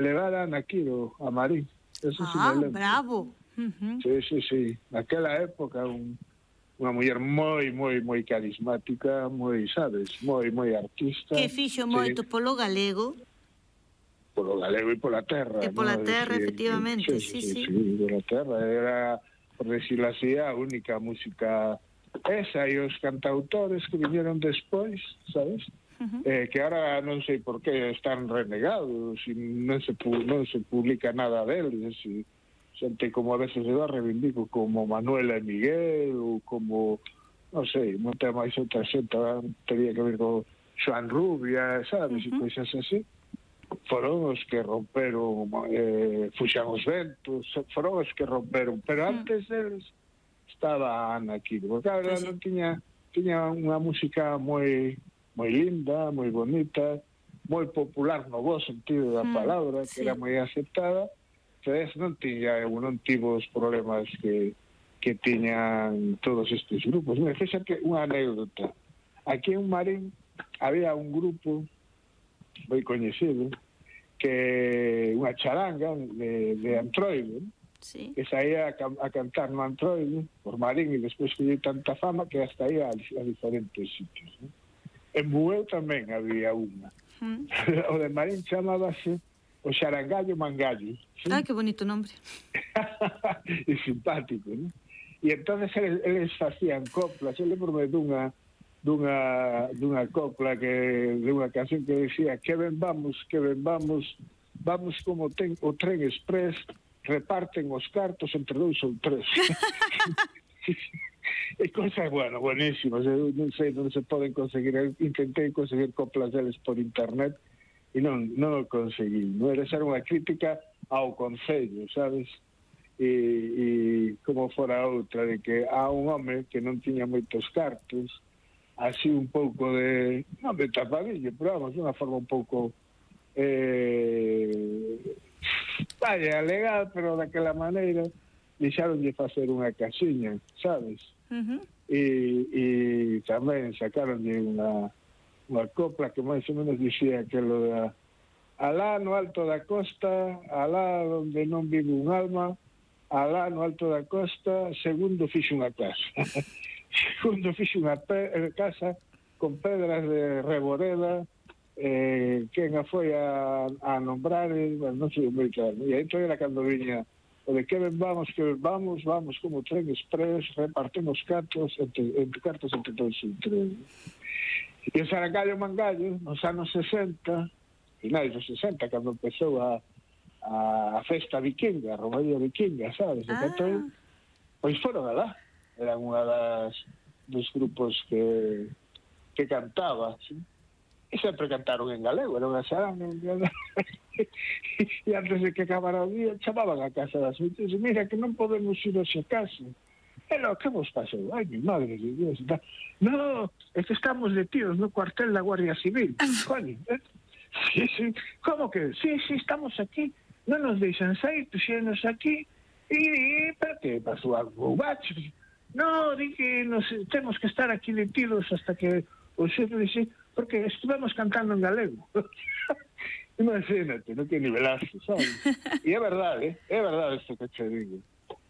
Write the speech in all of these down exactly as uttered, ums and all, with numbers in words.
levaran aquí do, a Marín. Eso sí Ah, me lembro. bravo. Uh-huh. Sí, sí, sí. Naquela época, un, unha muller moi, moi, moi carismática, moi, sabes, moi, moi artista. Que fixo Sí, moito polo galego. polo galego e pola terra, E pola ¿no? terra, Sí, efectivamente, sí, sí, sí, sí. sí, pola terra. Era, por decirlo así, a única música esa e os cantautores que vinieron despois, sabes? Uh-huh. Eh, que ahora non sei por que están renegados e non se, non se publica nada deles e xente como a veces eu reivindico como Manuela e Miguel ou como, non sei, non ten máis outra xente, teria que ver con Xoan Rubia, sabes, uh-huh. e coisas así. Foron os que romperon, eh, fuxan os ventos, foron os que romperon, pero antes deles estaba Ana Quiro, porque a verdade non tiña, tiña unha música moi moi linda, moi bonita, moi popular no bo sentido da palabra, que era moi aceptada, pero non tiña, non tivo os problemas que, que tiñan todos estes grupos. Mira, fíxate unha anécdota. Aquí en Marín había un grupo moi coñecido, que unha charanga de, de Antroide, sí. que saía a, a cantar no Antroide por Marín e despois que lle tanta fama que hasta aí a, a diferentes sitios, ¿no? En Bueu tamén había unha. Mm. O de Marín chamábase o Xarangallo Mangallo. ¿Sí? Ah, que bonito nombre. E simpático, ¿no? E entonces eles, eles facían coplas. Eu lembro-me dunha dunha dunha copla que de unha canción que decía que ben vamos, que ben vamos, vamos como ten o tren express, reparten os cartos entre dous ou tres. E cosas, bueno, buenísimas. Eu non sei, non se poden conseguir. Eu intentei conseguir coplas deles por internet e non, non o conseguí. Non era ser unha crítica ao concello, sabes? E, e como fora outra, de que há un home que non tiña moitos cartos, así un pouco de, non de tapadillo, pero vamos, de unha forma un pouco eh, vaya, legal, pero daquela maneira deixaronlle facer unha casiña, sabes? Uh-huh. E, e tamén sacaronlle unha unha copla que máis ou menos dicía aquilo de alá no alto da costa, alá onde non vive un alma, alá no alto da costa, segundo fixo unha casa. Segundo fixo unha pe- casa con pedras de reboreda, eh, quen a foi a, a nombrar, bueno, non sei moi claro. E entón era cando viña o de que ben vamos, que ben vamos, vamos como tren express, repartemos cartos entre, entre cartos entre todos os tren. E o Xarangallo Mangallo, nos anos sesenta, finais dos sesenta, cando empezou a, a festa vikinga, a romaría vikinga, sabes? Ah. Entón, pois foron alá. Eran unha das dos grupos que que cantaba, ¿sí? E sempre cantaron en galego, era unha xaranga en galego. E antes de que acabara o día, chamaban a casa das oito e mira que non podemos ir hoxe a casa. E no, que vos pasou? Ai, mi madre de Dios. No, é que estamos detidos no cuartel da Guardia Civil. Coño, eh? Sí, sí. Como que? Sí, sí, estamos aquí. Non nos deixan sair, puxenos aquí. E, pero que pasou algo? Bacho. No, di que nos, temos que estar aquí detidos hasta que o xefe dixe, porque estivemos cantando en galego. Imagínate, non que nivelazo, sabes? E é verdade, é verdade isto que te digo.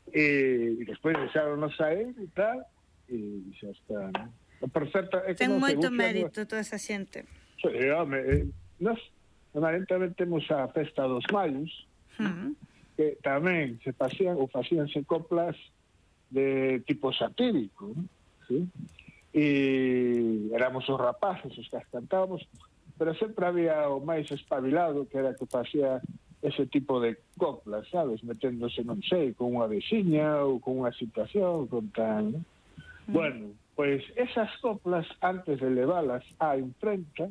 E, e despois deixaronos sair e tal, e xa está, non? Por certo, é que ten non moito se mérito toda esa xente. Sí, home, eh, nos, normalmente temos a festa dos maios, uh-huh. que tamén se facían, ou facíanse coplas de tipo satírico, ¿no? ¿Sí? E éramos os rapaces os que as cantábamos, pero sempre había o máis espabilado que era que facía ese tipo de coplas, sabes, meténdose, non sei, con unha veciña ou con unha situación, con tal, ¿no? Mm. Bueno, pois esas coplas, antes de leválas á imprenta,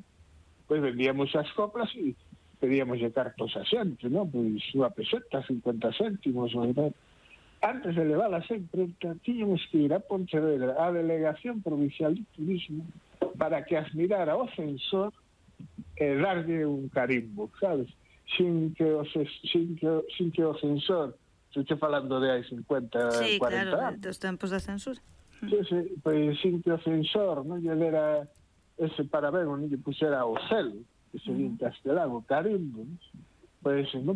pois vendíamos as coplas e pedíamos de cartos a xente, non? Pois unha peseta, cincuenta céntimos, ¿verdad? Antes de leválas a imprenta, tiñamos que ir a Pontevedra, a Delegación Provincial de Turismo, para que as mirara o censor e darlle un carimbo, sabes? Sin que o, sin que, sin que o censor, se estou falando de hai cincuenta, sí, cuarenta claro, anos. dos tempos da censura. Sí, sí, pois sin que o censor non lle dera ese parabén, non lle puxera o selo, que se di en castelán, o carimbo, pois non